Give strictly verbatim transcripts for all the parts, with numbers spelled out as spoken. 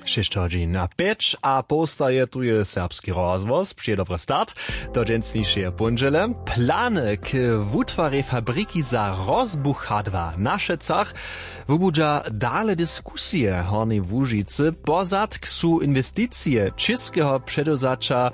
Šěsć hodźin a pjeć a połsta je tu je serbski rozhłos, přije dobry start do dźensnišeje póndźele. Plany k wutwarjej fabriki za rozbuchadła na Šecach wubudźa dale diskusije w Hornjej Łužicy. Pozadk su inwesticije čěskeho předewzaća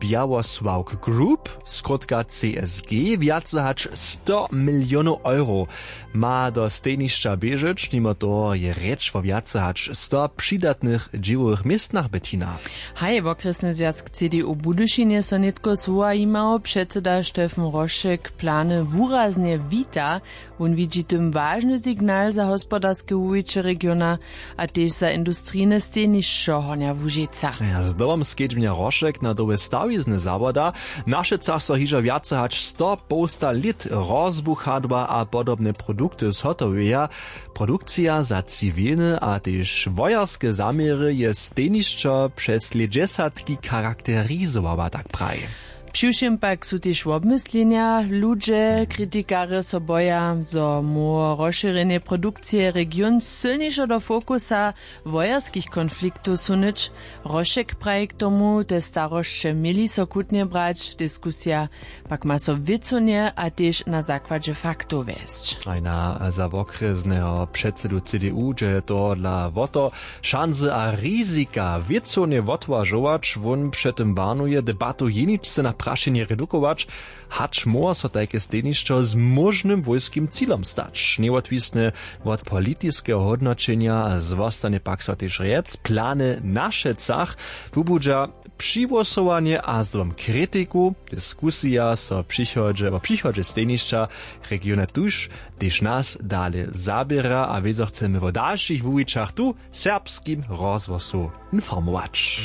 Białosławk Group, skrótka C S G, wjace hač sto milionow euro ma do stejnišća běžeć. Nimo toho je rěč wo wjace hač sto přidatnych dźěłowych městnach. Bettina. Haj, wokrjesny zwjazk C D U w Budyšinje so nětko słowa jimał. Předseda Stefan Rošek plany wuraznje wita. Wón widźi tym wažny signal za hospodarske wuwiće regiona a tež za industrijne stejnišćo Hornja Łužica. Ja, zdobom skedźbnja Rošek na dołhe stawizny zawoda. Na Šecach so hižo wjace hač sto połsta lět rozbuchadła a podobne produkty zhotoweja. Produkcija za ciwilne a tež wojerske zaměry je stejnišćo přez lětdźesatki charakterizowała, tak praji. Přiwšěm pak su tež wobmyslenja. Ludźe, kritikarjo so boja, zo móhło rozšěrjenje produkcije region sylnišo do fokusa wojerskich konfliktow sunyć. Rošek praji k tomu, te starosće měli so chutnje brać. Diskusija pak ma so wěcownje a tež na zakładźe faktow wjesć. Ajna za wokrjesneho předsedu C D U dźe tohodla wo to, šansy a rizika wěcownje wotwažować. Wón před tym warnuje, debatu jeničce na prašenje redukować, hač móhło so tajke stejnišćo z móžnym wójskim cilom stać. Njewotwisne wot politiskeho hódnoćenja zwostanje pak so tež rjec, plany na Šecach wubudźa přihłosowanje a zdobom kritiku. Diskusija so přichodźe wo přichodźe stejnišća regiona tuž tež nas dale zaběra a wězo chcemy wo dalšich wuwićach tu w serbskim rozhłosu informować.